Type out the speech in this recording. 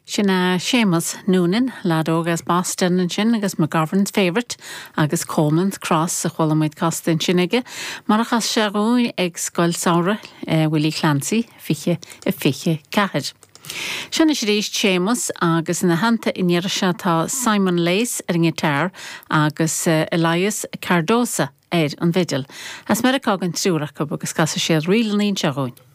Sin é Séamus Noonan, leaid óg as Boston ansin agus McGovern's Favourite agus Coleman's Cross a chuala muid casta ansin aige, mar a chas sé dhúinn ag Scoil Samhraidh Willie Clancy 2024. Seo anois arís Séamus agus ina theannta an iarraidh seo tá Simon Lace ar an ngiotár agus Elias Cardoza ar an bhfidil. As Meiriceá don triúr acu agus casfaidh siad ríleanna anseo dhúinn.